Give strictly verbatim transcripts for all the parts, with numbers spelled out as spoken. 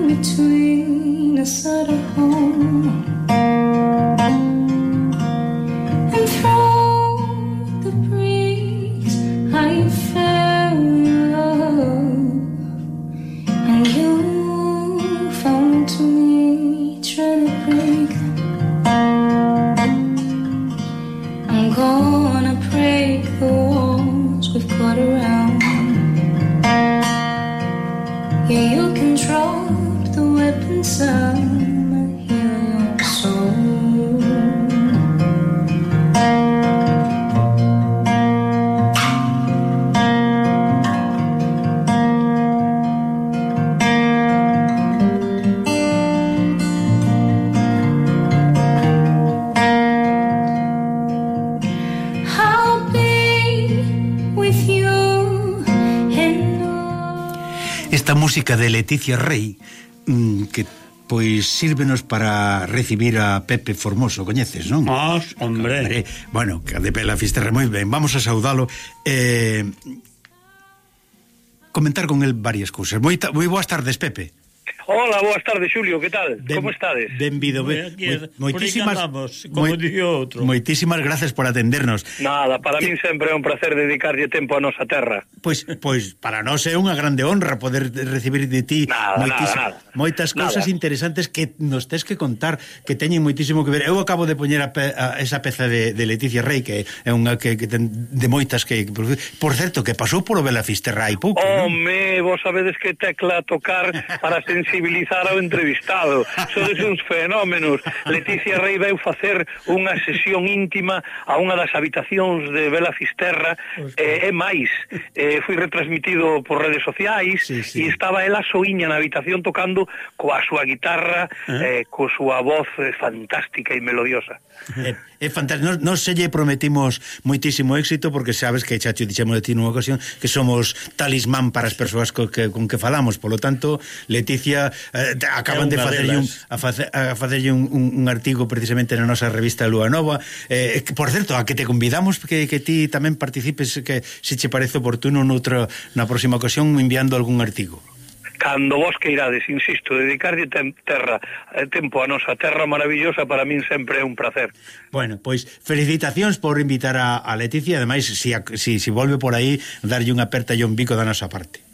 between us at home, and through the breeze I fell in love, and you found to me trying to break them. I'm gonna break the walls we've got around. Yeah, you can drop the weapons, I'ma heal your soul. I'll be with you. Esta música de Leticia Rey, que pois sírvenos para recibir a Pepe Formoso, coñeces, non? Ah, hombre. hombre Bueno, que de Bela Fisterra, moi ben, vamos a saudalo, eh, comentar con el varias cousas. Moi, moi boas tardes, Pepe. Hola, boas tardes, Xulio, que tal? Ben, Como estades? Benvido, ben, moi, moitísimas, como dixo outro. Moitísimas gracias por atendernos. Nada, para min sempre é un placer dedicarlle tempo a nosa terra. Pois, pois para nós é unha grande honra poder recibir de ti nada, nada, nada. moitas cousas interesantes que nos tes que contar, que teñen moitísimo que ver. Eu acabo de poñer a, pe, a esa peza de, de Leticia Rey, que é unha que, que ten de moitas que... Por certo, que pasou por o Bela Fisterra hai pouco, non? Home, vos sabedes que tecla tocar para sensibilizar ao entrevistado. Sodes uns fenómenos. Leticia Rey veu facer unha sesión íntima a unha das habitacións de Bela Fisterra, e, e máis, e, foi retransmitido por redes sociais, sí, sí. E estaba ela soiña na habitación tocando coa súa guitarra, eh? eh, coa súa voz eh, fantástica e melodiosa. É, é fantástico. Nos, nos se lle prometimos moitísimo éxito, porque sabes que, Chacho, dixemos de ti nunha ocasión que somos talismán para as persoas co, que, con que falamos. Polo tanto, Leticia eh, acaban de facerlle un, a face, a facerlle un, un, un artigo precisamente na nosa revista Lúa Nova, eh, que, por certo, a que te convidamos que, que ti tamén participes, que se che parece oportuno noutra, na próxima ocasión, enviando algún artigo. Cando vos queirades, insisto, dedicarlle tem, terra, eh, tempo a nosa terra maravillosa, para min sempre é un placer. Bueno, pois felicitacións por invitar a, a Leticia, ademais, si, si, si volve por aí, darlle unha aperta e un bico da nosa parte.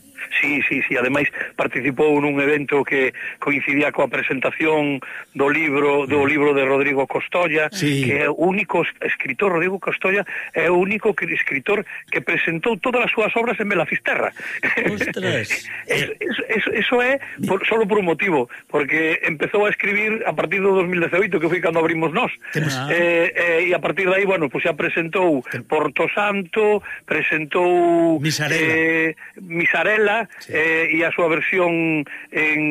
Sí, sí, sí, ademais participou nun evento que coincidía coa presentación do libro do libro de Rodrigo Costolla, sí. Que é o único escritor, Rodrigo Costolla é o único que, escritor que presentou todas as súas obras en Bela Fisterra. Ostras. eso, eso, eso é por, solo por un motivo, porque empezou a escribir a partir do dos mil dezaoito, que foi cando abrimos nós. Ah. Eh, eh, e a partir de aí, bueno, pues xa presentou Porto Santo, presentou Misarela, eh, Misarela, sí. eh, e a súa versión en,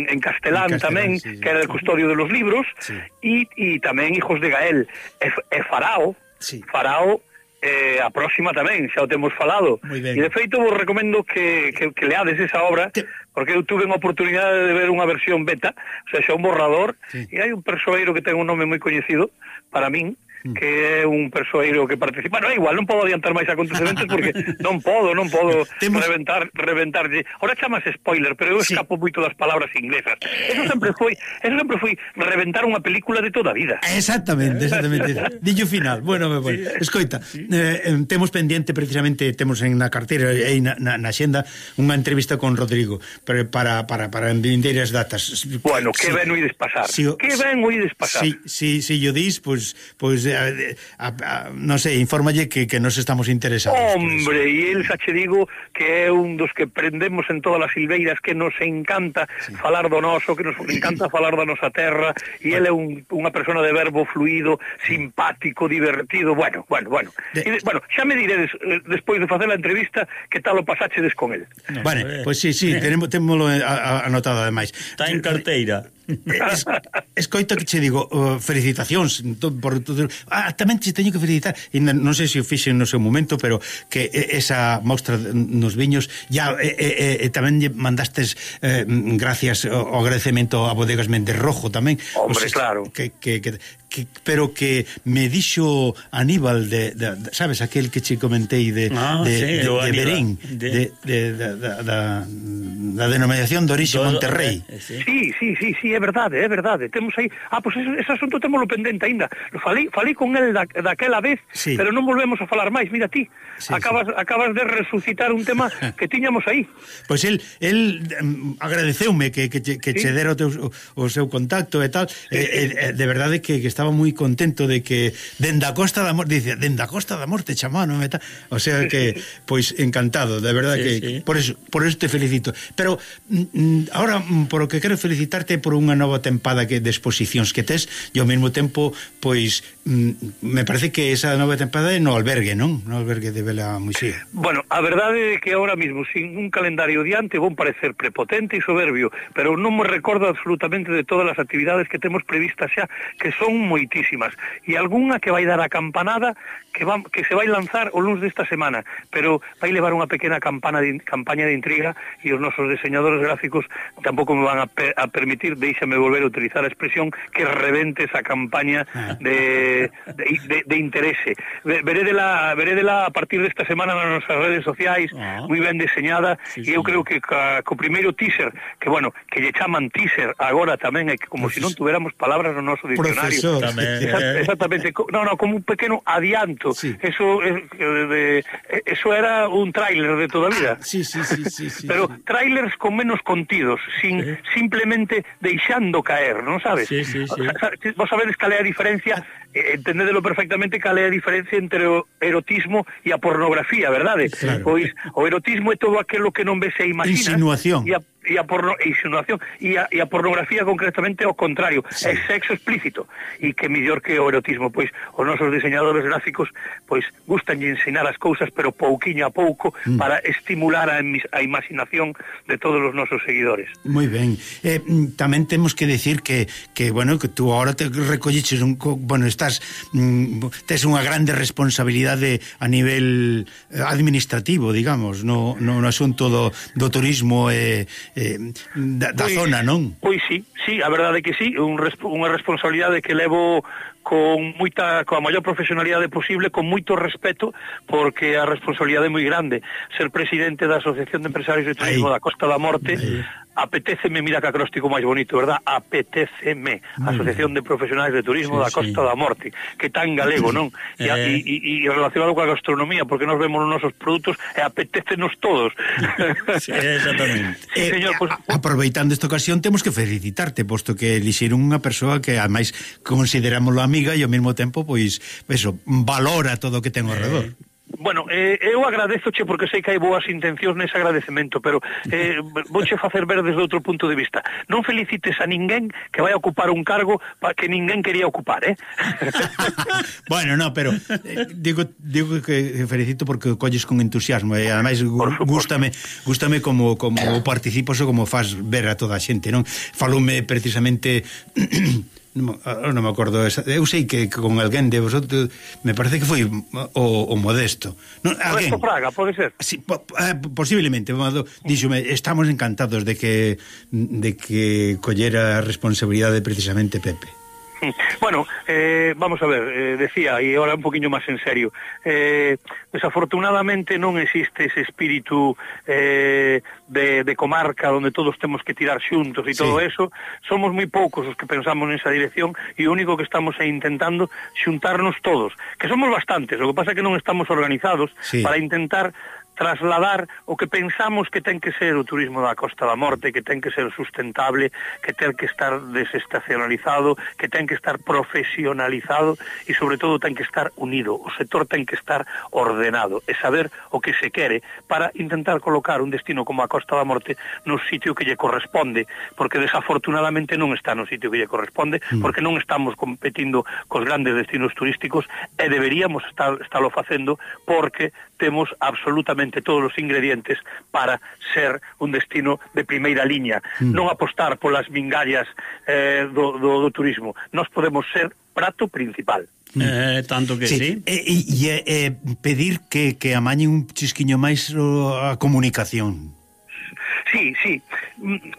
en castelán, en castelán tamén, sí, que era el custodio de los libros, sí. e, e tamén Hijos de Gael, e, e Farao, sí. Farao, eh, a próxima tamén, xa o temos falado. E de feito vos recomendo que, que, que leades esa obra, que... porque eu tuve unha oportunidade de ver unha versión beta, o sea, xa un borrador, sí. E hai un persoeiro que ten un nome moi coñecido para min, que é un persoeiro que participa. No, igual, non podo adiantar máis acontecementos porque non podo, non podo Temos... reventar, reventarlle. Ahora chamas spoiler, pero eu sí. escapo moito das palabras inglesas. Eso sempre foi, eso sempre foi reventar unha película de toda a vida. Exactamente, exactamente. Dillo final. Bueno, bueno. Sí. Escoita, eh, temos pendiente precisamente, temos en na carteira e na, na, na xenda unha entrevista con Rodrigo para para para para en vindeiras datas. Bueno, que sí. ben oides pasar. Sí, que ben oides pasar. Si sí, sí, sí, yo dis, pois pues, pues, a, a, a, non sei, infórmalle que, que nos estamos interesados. Hombre, e el xa che digo que é un dos que prendemos en todas as silveiras, que nos encanta sí. falar do noso, que nos encanta falar da nosa terra, e ele é un, unha persona de verbo fluido, simpático, divertido, bueno, bueno, bueno. De... E, bueno, xa me diredes, despois de facer a entrevista, que tal o pasáchedes con el. No, bueno, pois pues sí, sí, tenemos, tenemoslo anotado ademais. Está en carteira. Es, escoita que che digo, uh, felicitacións por todo. Ah, tamén te teño que felicitar, e non sei se o fixen no seu momento, pero que esa mostra nos viños ya e, e, e, tamén mandastes eh, gracias ao agradecemento a Bodegas Méndez Rojo tamén. Hombre, o sea, claro. Que, que, que, que, pero que me dixo Aníbal de, de, de sabes, aquel que che comentei de, ah, de, sí, de, de Berín de, de, de, de, da, da denominación de orixe Monterrey. Sí, sí, sí, sí, é verdade, é verdade. Temos aí, ah, pois pues ese, ese asunto témolo pendente aínda. Falei, falei con el da, daquela vez, sí. Pero non volvemos a falar máis, mira ti. Sí, acabas, sí. acabas de resucitar un tema que tiñamos aí. Pois pues el, el um, agradeceume que, que, que sí. che dera o, teu, o, o seu contacto e tal, sí, eh, eh, de verdade que, que estaba moi contento de que dende a Costa da Morte, dice, dende a Costa da Morte chamano e tal, o sea que, pois pues, encantado, de verdade sí, que sí. por eso por eso te felicito. Pero mm, ahora, por o que quero felicitarte por unha nova tempada que de exposicións que tes, e ao mesmo tempo, pois mm, me parece que esa nova tempada é no albergue, non? No albergue de Vela Muxía. Bueno, a verdade é que ahora mismo, sin un calendario diante, vou parecer prepotente e soberbio, pero non me recordo absolutamente de todas as actividades que temos previstas xa, que son moitísimas, e algunha que vai dar a campanada que, va, que se vai lanzar o luns desta semana, pero vai levar unha pequena campana de, campaña de intriga, e os nosos diseñadores gráficos tampouco me van a, pe, a permitir, deixame volver a utilizar a expresión, que rebente esa campaña de, de, de, de interese. Verédela, verédela a partir desta semana nas nosas redes sociais, oh. moi ben diseñada, sí, e eu sí. creo que ca, co primeiro teaser, que bueno, que lle chaman teaser agora tamén, é que como se si non tuveramos palabras no noso diccionario. Profesor. Exact, exactamente, no, no, como un pequeno adianto. Sí. Eso de, de, eso era un tráiler de toda a vida. Ah, sí, sí, sí, sí, sí, pero sí. tráilers con menos contidos, sin sí. simplemente deixando caer, non sabes? Sí, sí, sí. Vos sabedes cal é a diferencia, eh, entendedelo perfectamente, cal é a diferencia entre o erotismo e a pornografía, verdade? Claro. Pois o erotismo é todo aquilo que non ves e imaginas. Insinuación. E a e a porno, insinuación e a, e a pornografía concretamente ao contrario, sí. É sexo explícito, e que mellor que o erotismo, pois os nosos diseñadores gráficos pois gustan de ensinar as cousas, pero pouquiño a pouco, mm. para estimular a, a imaginación de todos os nosos seguidores. Moi ben. Eh, tamén temos que decir que, que bueno, que tú agora te recolliches un, bueno, estás mm, tes unha grande responsabilidade a nivel administrativo, digamos, no, no, no asunto do, do turismo e eh, Eh, da, da pois, zona, non? Pois sí, sí, a verdade é que sí, un, unha responsabilidade que levo con moita, coa maior profesionalidade posible, con moito respeto, porque a responsabilidade é moi grande. Ser presidente da Asociación de Empresarios de Turismo da Costa da Morte, aí. Apetéceme, mira que acróstico máis bonito, verdad? Apetéceme, Asociación de Profesionais de Turismo sí, da Costa sí. da Morte, que tan galego, non? E, eh... e, e relacionado coa gastronomía, porque nos vemos nos nosos produtos e apetécenos todos. Sí, exactamente. Sí, señor, pues... Aproveitando esta ocasión, temos que felicitarte, posto que elixeron unha persoa que, ademais, considerámoslo amiga e ao mesmo tempo, pois, eso, valora todo o que ten ao redor. Eh... Bueno, eh, eu agradezoche porque sei que hai boas intencións nese agradecemento, pero eh, vouche facer ver desde outro punto de vista. Non felicites a ninguén que vai a ocupar un cargo pa que ninguén quería ocupar, eh? Bueno, no, pero eh, digo, digo que felicito porque colles con entusiasmo e ademais gústame, gústame como, como participas ou como faz ver a toda a xente, non? Faloume precisamente... Non, non me acordo esa. Eu sei que, que con alguén de vosotros, me parece que foi o, o Modesto, non, alguén, Modesto Fraga, pode ser? Sí, po, eh, posiblemente. Díxome, estamos encantados de que de que collera a responsabilidade precisamente Pepe. Bueno, eh, vamos a ver, eh, decía, e ahora un poquinho máis en serio, eh, desafortunadamente non existe ese espírito eh, de, de comarca onde todos temos que tirar xuntos e sí. todo eso. Somos moi poucos os que pensamos nesa dirección e o único que estamos é intentando xuntarnos todos, que somos bastantes, o que pasa é que non estamos organizados sí. para intentar trasladar o que pensamos que ten que ser o turismo da Costa da Morte, que ten que ser sustentable, que ten que estar desestacionalizado, que ten que estar profesionalizado e sobre todo ten que estar unido. O sector ten que estar ordenado e saber o que se quere para intentar colocar un destino como a Costa da Morte no sitio que lle corresponde, porque desafortunadamente non está no sitio que lle corresponde, porque non estamos competindo cos grandes destinos turísticos e deberíamos estar, estarlo facendo porque temos absolutamente todos os ingredientes para ser un destino de primeira liña, mm. non apostar polas mingallas eh, do, do, do turismo. Nós podemos ser prato principal. Eh, tanto que sí, sí. E, e, e pedir que, que amañen un chisquiño máis a comunicación. Sí, sí.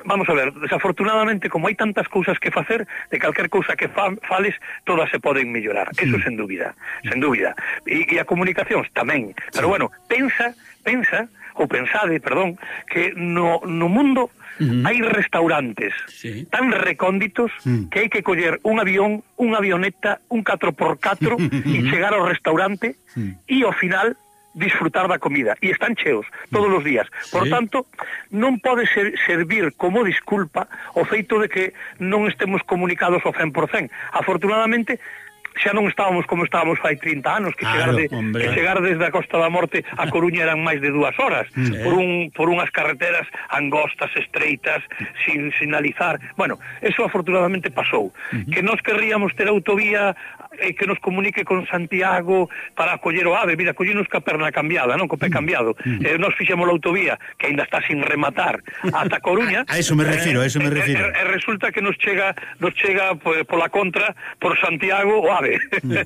Vamos a ver, desafortunadamente, como hai tantas cousas que facer, de calquer cousa que fa, fales, todas se poden mellorar. Eso, sen dúbida, sen dúbida. E, e a comunicación tamén. Pero bueno, pensa, pensa, ou pensade, perdón, que no, no mundo uh-huh. hai restaurantes sí. tan recónditos uh-huh. que hai que coller un avión, unha avioneta, un catro por catro uh-huh. e chegar ao restaurante uh-huh. e ao final disfrutar da comida, e están cheos todos os días. Por sí. tanto, non pode ser, servir como disculpa o feito de que non estemos comunicados ao cen por cen. Afortunadamente, xa non estábamos como estábamos fai trinta anos, que chegar, claro, de, que chegar desde a Costa da Morte a Coruña eran máis de dúas horas, sí. por, un, por unhas carreteras angostas, estreitas, sin sinalizar. Bueno, eso afortunadamente pasou. Uh-huh. Que nós querríamos ter autovía eh, que nos comunique con Santiago para coller o AVE. Mira, collinos ca perna cambiada, non? Co pé cambiado. Uh-huh. Eh, nos fixemos a autovía, que ainda está sin rematar, ata Coruña. A eso me refiro, a eso me refiro. E, e, e resulta que nos chega, nos chega pues, pola contra, por Santiago, o AVE.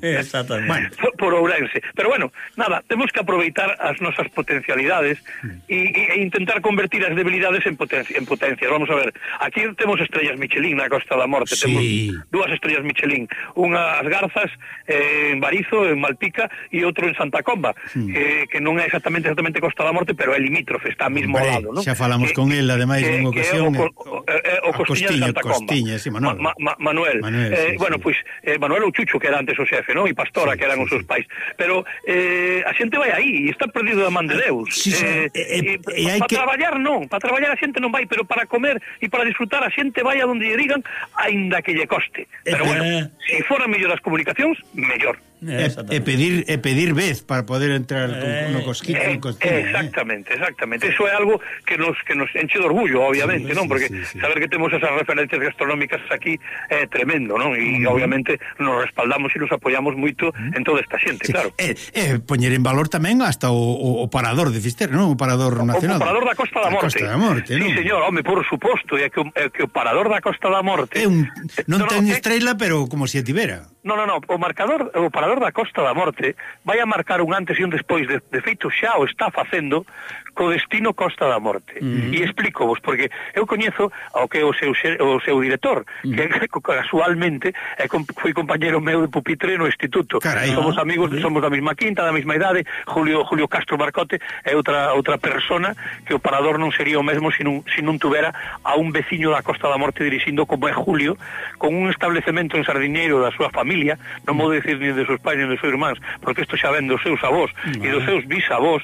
Exactamente. Bueno, por, por Ourense. Pero bueno, nada, temos que aproveitar as nosas potencialidades e, e intentar convertir as debilidades en, potencia, en potencias. Vamos a ver, aquí temos estrellas Michelin na Costa da Morte, sí. temos dúas estrellas Michelin, unha as Garzas eh, en Barizo, en Malpica, e outro en Santa Comba, sí. que, que non é exactamente exactamente Costa da Morte, pero é limítrofe, está mesmo ao lado, non? Xa falamos que, con el, ademais, en ocasión, o, o, o, o Costiña de Santa Comba. Costiña, sí, Manuel. Ma, ma, Manuel. Manuel eh, sí, bueno, sí. pois, pues, eh, Manuel ou Chucho, que era antes o xefe, non? E Pastora, sí, que eran sí, os seus pais. Pero eh, a xente vai aí, e está perdido da man de Deus. Sí, sí. Eh, eh, eh, eh, para que... traballar non, para traballar a xente non vai, pero para comer e para disfrutar a xente vai a donde lle digan, aínda que lle coste. Pero eh, bueno, se si fora mellor as comunicacións, mellor. E, e pedir e pedir vez para poder entrar eh, no cosquito, eh, no cosquito, exactamente, eh. exactamente. Eso é algo que nos que nos enche de orgullo, obviamente, sí, non? Porque sí, sí, sí. saber que temos esas referencias gastronómicas aquí é tremendo, non? E uh-huh. obviamente nos respaldamos e nos apoiamos moito uh-huh. en toda esta xente, sí. claro. E eh, eh, poñer en valor tamén hasta o, o, o parador de Fisterra, non? O parador nacional. O, o parador da Costa da Morte. Costa da Morte, sí, non? señor, home, por suposto, é que, é que o parador da Costa da Morte é un non no, ten no, estrela, pero como se tivera. No, no, no, o marcador, o parador da Costa da Morte vai a marcar un antes e un despois, de, de feito xa o está facendo co destino Costa da Morte. Uh-huh. E explico vos, porque eu coñezo ao que é o seu, o seu director, uh-huh. que casualmente é, foi compañero meu de pupitre no instituto. Carai, somos ah, amigos, uh-huh. somos da mesma quinta, da mesma idade. Julio Julio Castro Marcote é outra outra persona que o parador non sería o mesmo se non, se non tuvera a un veciño da Costa da Morte dirixindo como é Julio, con un establecemento en Sardiñeiro da súa familia, non vou decir ni de seus pais ni de seus irmáns, porque isto xa ven dos seus avós uh-huh. e dos seus bisavós.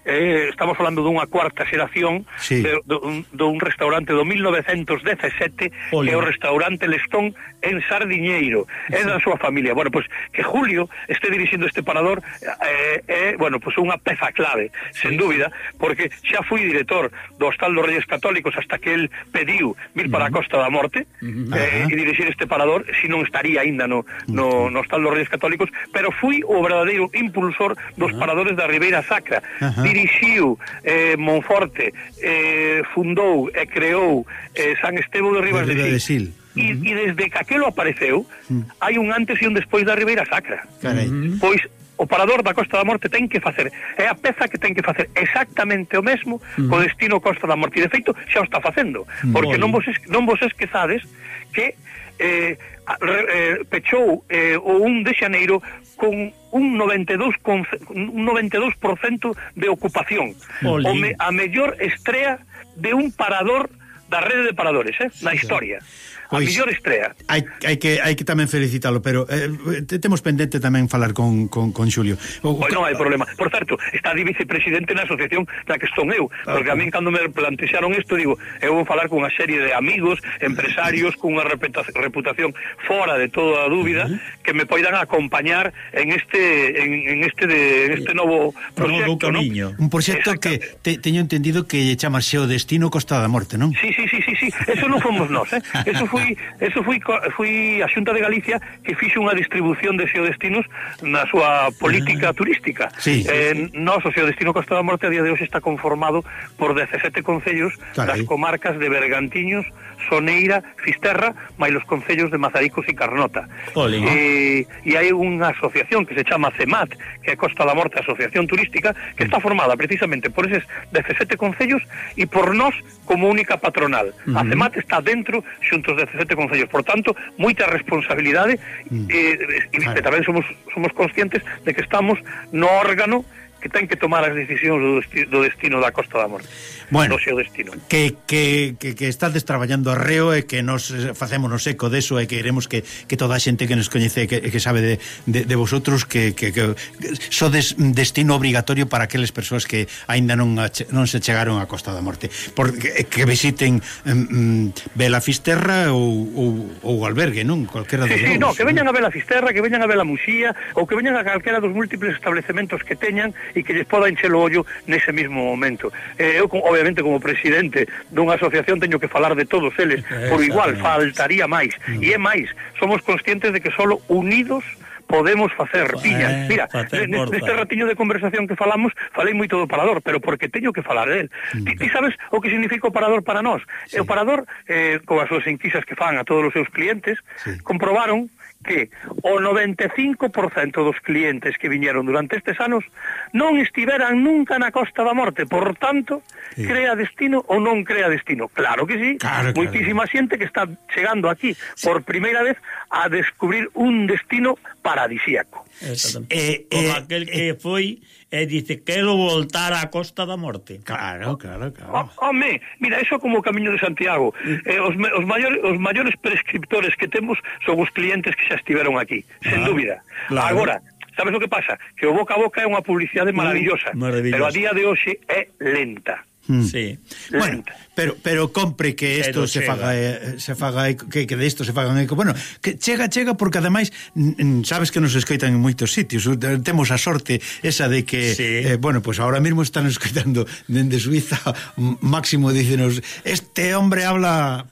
Eh, estamos falando dunha cuarta xeración sí. de, de, un, de un restaurante do mil novecentos dezasete que é o restaurante Lestón en Sardiñeiro, sí. é da súa familia. Bueno, pois pues, que Julio este dirixindo este parador é, eh, eh, bueno, pois pues unha peza clave, sí. sen dúbida, porque xa fui director do Hostal dos Reyes Católicos hasta que el pediu vir para a Costa da Morte uh-huh. eh, e dirixir este parador, si non estaría aínda no, no, no Hostal dos Reyes Católicos, pero fui o verdadeiro impulsor dos uh-huh. paradores da Ribeira Sacra. Uh-huh. Dirixiu eh, Monforte, eh, fundou e creou eh, San Estevo de Ribas de, de Sil. E, uh-huh. e desde que aquelo apareceu, uh-huh. hai un antes e un despois da Ribeira Sacra. Uh-huh. Pois o parador da Costa da Morte ten que facer, é a peza que ten que facer exactamente o mesmo uh-huh. co destino Costa da Morte. E de feito xa o está facendo, porque non vos, es, non vos esquezades que eh, eh, pechou eh, o un de xaneiro con un noventa e dous por cento de ocupación. O me, a mellor estrea de un parador da rede de paradores, eh, na historia. A pois, mellor estrea. Hai, hai, que, hai que tamén felicitalo, pero eh, temos pendente tamén falar con, con, con Xulio. O, pois non hai problema. Por certo, está de vicepresidente na asociación da que son eu, ah, porque a min cando me plantexaron isto, digo, eu vou falar con unha serie de amigos, empresarios, con unha reputación fora de toda a dúbida, uh-huh. que me poidan acompañar en este en, en este de en este novo proxecto, ¿no? Un proxecto que te, teño entendido que chama Xeo Destino Costa da Morte, non? Sí, sí, sí, sí, sí, eso non fomos nós, eh? Eso foi, eso foi, foi a Xunta de Galicia que fixo unha distribución de xeodestinos na súa política turística. Sí, eh, sí, sí. Nós, o xeodestino Costa da Morte a día de hoxe está conformado por dezasete concellos das comarcas de Bergantiños, Soneira, Fisterra, máis os concellos de Mazaricos e Carnota. E, e hai unha asociación que se chama CEMAT, que é Costa da Morte Asociación Turística, que está formada precisamente por eses dezasete concellos e por nós como única patronal. Uh-huh. A CEMAT está dentro xuntos dezasete concellos, por tanto, moita responsabilidade uh-huh. e, e, e tamén somos, somos conscientes de que estamos no órgano que ten que tomar as decisións do destino, do destino da Costa da Morte. Bueno, do seu destino. Que, que, que, que estades traballando arreo e que nos facemos no seco deso e que queremos que, que toda a xente que nos coñece que, que sabe de, de, de vosotros que, que, que sodes destino obrigatorio para aqueles persoas que aínda non, non se chegaron a Costa da Morte, porque que visiten um, Vela Fisterra ou, ou, ou albergue, non? Cualquera dos sí, sí, novos, no, que veñan a Vela Fisterra, que veñan a Vela Muxía ou que veñan a calquera dos múltiples establecementos que teñan e que lles poda encher o ollo nese mismo momento. Eh, eu, obviamente, como presidente dunha asociación teño que falar de todos eles, por igual, faltaría máis. Mm. E é máis, somos conscientes de que solo unidos podemos facer piñas. Mira, neste ratiño de conversación que falamos, falei moito do parador, pero porque teño que falar del. Mm. Ti, ti sabes o que significa o parador para nós? Sí. O parador, eh, coas súas enquisas que fan a todos os seus clientes, sí. comprobaron que o noventa e cinco por cento dos clientes que viñeron durante estes anos non estiveran nunca na Costa da Morte, por tanto, sí. crea destino ou non crea destino. Claro que sí, claro, moitísima claro. xente que está chegando aquí sí. por primeira vez a descubrir un destino paradisíaco. Eh, Como eh, aquel que eh, foi e dice, quero voltar á Costa da Morte. Claro, claro, claro. Oh, home, mira, eso como o Camiño de Santiago. Eh, os, os, maiores, os maiores prescriptores que temos son os clientes que xa estiveron aquí, ah, sen dúbida. Claro. Agora, sabes o que pasa? Que o boca a boca é unha publicidade maravillosa, maravillosa. Pero a día de hoxe é lenta. Mm. Sí. Bueno, pero pero compre que isto se faga eh, se faga que que de isto se fagan eco. Bueno, que chega chega porque ademais sabes que nos escoitan en moitos sitios. Temos a sorte esa de que sí. eh, bueno, pues ahora mismo están escoitando dende Suiza. Máximo dícenos, este hombre habla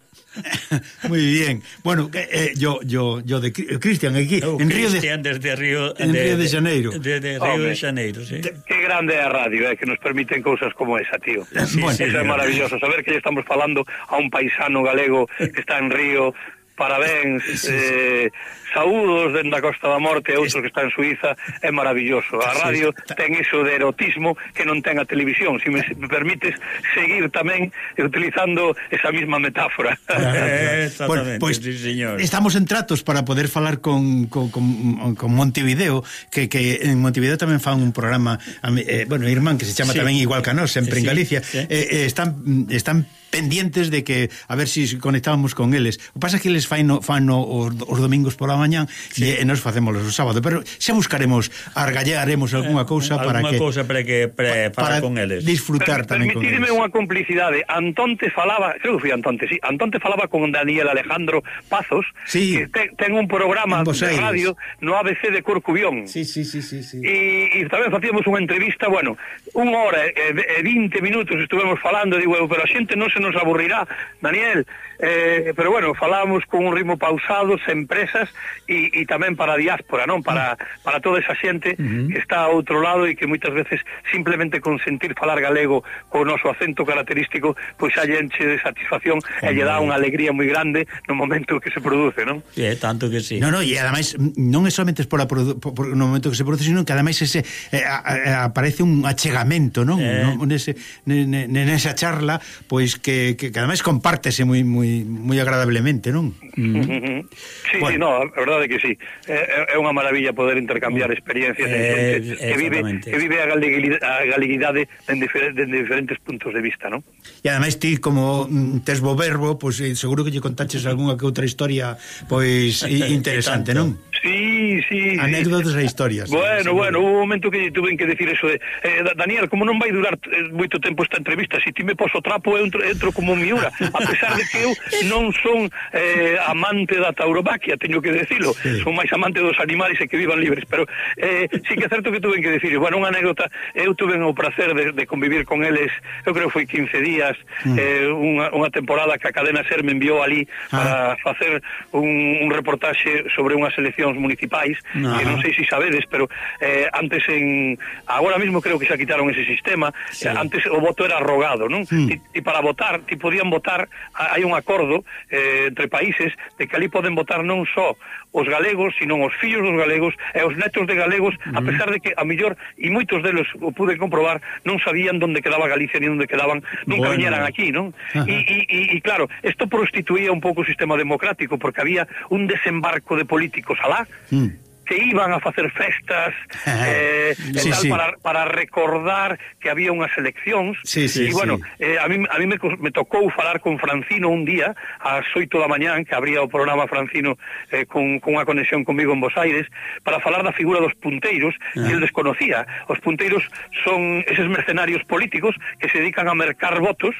muy bien. Bueno, eh, yo yo yo de Cristian aquí oh, en Río de desde Río en de, Río de Janeiro. De, de Río de Janeiro, sí. Qué grande é a radio, eh, que nos permiten cousas como esa, tío. Sí, bueno, sí, eso sí, é maravilloso, saber que estamos falando a un paisano galego que está en Río. Parabéns, eh, saúdos dende a Costa da Morte e outros que están en Suiza, é maravilloso. A radio ten iso de erotismo que non ten a televisión. Se me, me permites seguir tamén utilizando esa misma metáfora. Eh, exactamente, bueno, pues, sí, señor. Estamos en tratos para poder falar con, con, con, con Montevideo, que, que en Montevideo tamén fan un programa, eh, bueno, irmán, que se chama sí. tamén igual que a nós, sempre sí, en Galicia. Sí. Eh, eh, están, están pendientes de que a ver si conectábamos con eles. O pasa que eles fan no, fan no, os, os domingos pola mañán sí. e, e nos facemos o sábado, pero xa buscaremos, argallaremos algunha cousa eh, para que cousa para que para, para con eles. Disfrutar pero, tamén con eles. Permitidme unha complicidade. Antón te falaba, creo que foi Antón, sí, Antón te falaba con Daniel Alejandro Pazos, sí. que te, ten un programa de radio no A B C de Corcubión. Sí, sí, sí, sí, sí. E, e tamén facíamos unha entrevista, bueno, unha hora e, e vinte minutos estuvemos falando, digo, pero a xente non se nos aburrirá, Daniel, eh, pero bueno, falábamos con un ritmo pausado, sen presas e, e tamén para a diáspora, non? Para, para toda esa xente uh-huh. que está a outro lado e que moitas veces simplemente con sentir falar galego co noso acento característico, pois xa enche de satisfacción uh-huh. e lle dá unha alegría moi grande no momento que se produce, non? Sí, tanto que sí. No, no, e ademais non é somente por, por, por no momento que se produce, sino que ademais ese eh, a, a, aparece un achegamento, non? Eh. no, nese, nesa charla, pois que, que, que ademais compártese moi moi moi agradablemente, non? Mm. Sí, bueno. sí, no, a verdade que sí. É, é unha maravilla poder intercambiar experiencias eh, en que vive que vive a galeguidade, a galeguidade en diferentes, en diferentes puntos de vista, non? E ademais ti como tes bo verbo, pois pues, seguro que lle contaches algunha que outra historia pois interesante, non? Sí, sí. Anécdotas e historias. Bueno, sí, bueno, hubo un momento que tuve que decir eso de eh, Daniel, como non vai durar eh, moito tempo esta entrevista, se si ti me poso trapo eu entro, entro como miura, a pesar de que eu non son eh, amante da tauromaquia, teño que decilo, sí. Son máis amante dos animales e que vivan libres, pero eh, sí que é certo que tuve que decir, bueno, unha anécdota, eu tuve o prazer de, de convivir con eles, eu creo que foi quince días, mm. eh, unha, unha temporada que a cadena SER me enviou ali ah. para facer un, un reportaxe sobre unhas eleccións municipais, ah. que non sei se sabedes, pero eh, antes en, agora mismo creo que xa quitaron ese sistema, sí. eh, antes o voto era rogado, non? Mm. E, e para votar, ti podían votar, hai un acordo eh, entre países de que ali poden votar non só os galegos, sino os fillos dos galegos e os netos de galegos, mm. a pesar de que a mellor, e moitos deles o pude comprobar, non sabían onde quedaba Galicia ni onde quedaban, nunca bueno. viñeran aquí, non? E, e, e claro, isto prostituía un pouco o sistema democrático, porque había un desembarco de políticos alá, mm. que iban a facer festas eh, sí, tal, sí. Para, para recordar que había unhas eleccións sí, sí, e bueno, sí. eh, a mí, a mí me, me tocou falar con Francino un día ás oito da mañán, que abría o programa Francino eh, con, con unha conexión comigo en Bos Aires, para falar da figura dos punteiros, ah. que el desconocía. Os punteiros son eses mercenarios políticos que se dedican a mercar votos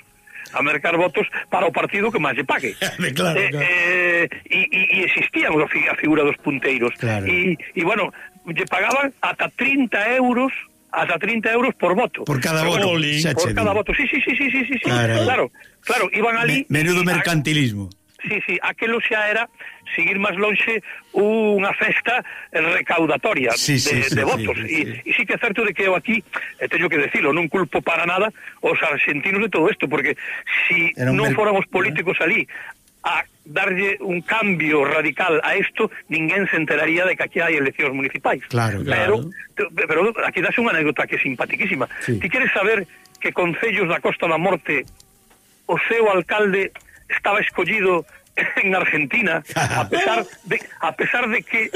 a mercar votos para o partido que máis lle pague. claro, eh, claro. Eh, e, e existían a figura dos punteiros. Claro. E, e bueno, lle pagaban ata trinta euros ata trinta euros por voto. Por cada voto. Por cada voto. Sí, sí, sí, sí, sí, sí. Claro, claro, claro, iban ali. Me, menudo mercantilismo. Sí, sí, aquelo xa era seguir máis lonxe unha festa recaudatoria sí, sí, de, sí, de votos. Sí, sí, sí. E, e sí que é certo de que eu aquí, eh, teño que decirlo, non culpo para nada os argentinos de todo isto, porque si non mer... fóramos políticos ali a darlle un cambio radical a isto, ninguén se enteraría de que aquí hai eleccións municipais. Claro, pero, claro. Pero aquí das unha anécdota que é simpaticísima. Sí. Ti queres saber que concellos da Costa da Morte o seu alcalde estaba escollido en Argentina, a pesar de a pesar de que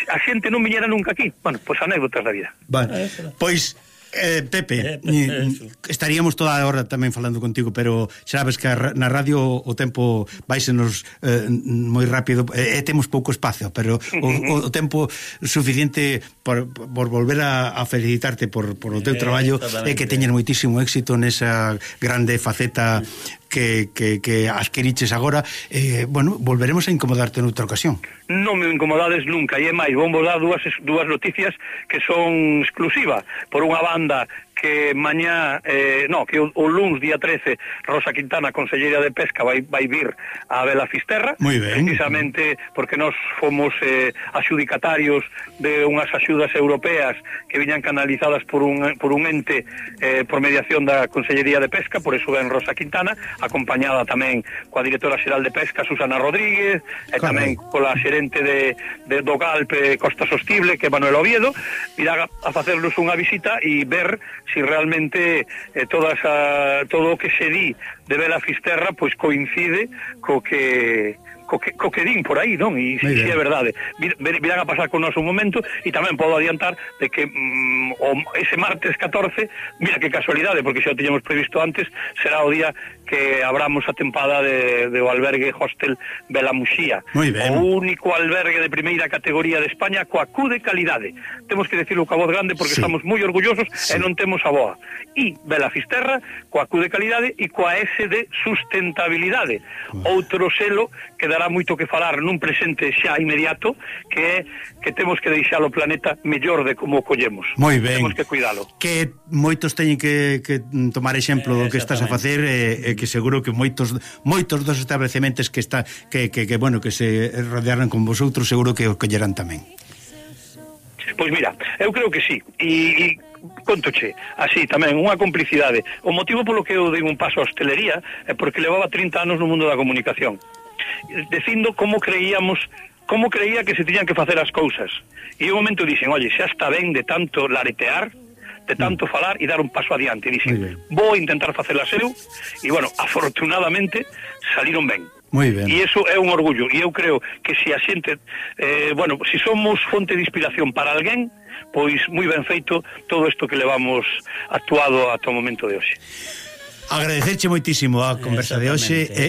a xente non viñera nunca aquí? Bueno, pois pues anécdotas da vida. Vale, pois Eh, Pepe, eh, estaríamos toda a hora tamén falando contigo, pero sabes que na radio o tempo vaisenos eh, moi rápido e eh, temos pouco espacio, pero o, o tempo suficiente por, por volver a, a felicitarte por, por o teu traballo e que teñen moitísimo éxito nesa grande faceta que, que, que adquiriches agora. Eh, bueno, volveremos a incomodarte noutra ocasión. Non me incomodades nunca, e é máis, vamos dar dúas, dúas noticias que son exclusiva. Por unha banda, que mañá, eh, no, que o, o luns, día trece, Rosa Quintana, conselleira de Pesca, vai, vai vir a Vela Fisterra, precisamente porque nós fomos eh, axudicatarios de unhas axudas europeas que viñan canalizadas por un, por un ente eh, por mediación da Consellería de Pesca, por eso ven Rosa Quintana, acompañada tamén coa directora xeral de Pesca, Susana Rodríguez, e tamén cola xerente de, de do Galpe Costa Sostible, que é Manuel Oviedo, virá a facernos unha visita e ver si realmente eh, toda esa, todo o que se di de Vela Fisterra pois coincide co que co que, co que din por aí, non? E si, si é verdade. Vir, virán a pasar con nós un momento, e tamén podo adiantar de que mm, o, ese martes catorce, mira que casualidade, porque xa o tiñamos previsto antes, será o día que abramos a tempada de, de o albergue hostel Vela Muxía. O único albergue de primeira categoría de España coa Q de calidade. Temos que decirlo coa voz grande porque sí. Estamos moi orgullosos sí. E non temos a boa. E Vela Fisterra coa Q de calidade e coa S de sustentabilidade. Uh. Outro selo que dará moito que falar nun presente xa inmediato, que é que temos que deixar o planeta mellor de como o collemos. Moi ben. Temos que cuidalo. Que moitos teñen que, que tomar exemplo do que estás a facer e, e que seguro que moitos moitos dos establecementos que está que, que, que bueno, que se rodearan con vosotros seguro que os collerán tamén. Pois mira, eu creo que sí. E, e contoche, así tamén, unha complicidade. O motivo polo que eu dei un paso a hostelería é porque levaba trinta anos no mundo da comunicación, dicindo como creíamos, como creía que se tiñan que facer as cousas. E un momento dixen, oye, xa está ben de tanto laretear, de tanto falar e dar un paso adiante. E dixen, vou intentar facelas eu, e bueno, afortunadamente saliron ben. Moi ben. E iso é un orgullo, e eu creo que se a xente, eh, bueno, se si somos fonte de inspiración para alguén, pois moi ben feito todo isto que levamos actuado ata o momento de hoxe. Agradecerche moitísimo a conversa de hoxe e,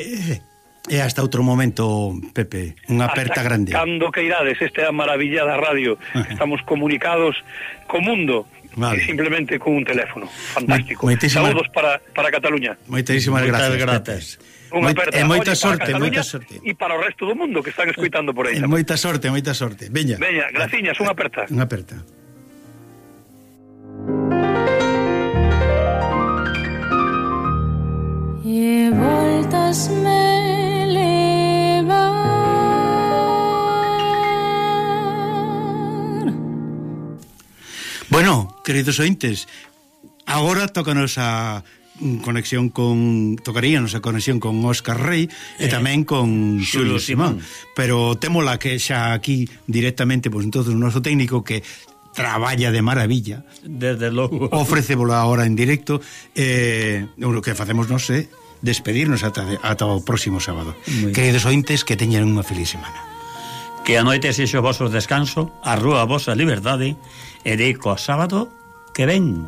e hasta outro momento, Pepe, unha aperta hasta grande. Cando que irades, esta é a maravilla da radio, estamos comunicados co mundo. Vale. E simplemente con un teléfono. Fantástico. Saúdos para, para Cataluña. Moitísimas gracias. Moitas gracias. Unha aperta. E moita Oye, sorte, para moita Cataluña sorte. E para o resto do mundo que están escoitando por aí. E moita sorte, moita sorte. Veña. Veña, graciñas, unha aperta. Unha aperta. E voltas me levar. Bueno, queridos ointes, agora tócanos a conexión con tocaríanos a conexión con Óscar Rey e tamén con Xulio Simón, pero témola que xa aquí directamente, pois entonces o noso técnico que traballa de maravilla, desde logo, ofrécevolo agora en directo, eh, o que facemos nós é despedirnos ata, de, ata o próximo sábado. Queridos ointes, que teñan unha feliz semana. Que a noite sexo vosso descanso, a rúa vosa liberdade, e deico a sábado que ven.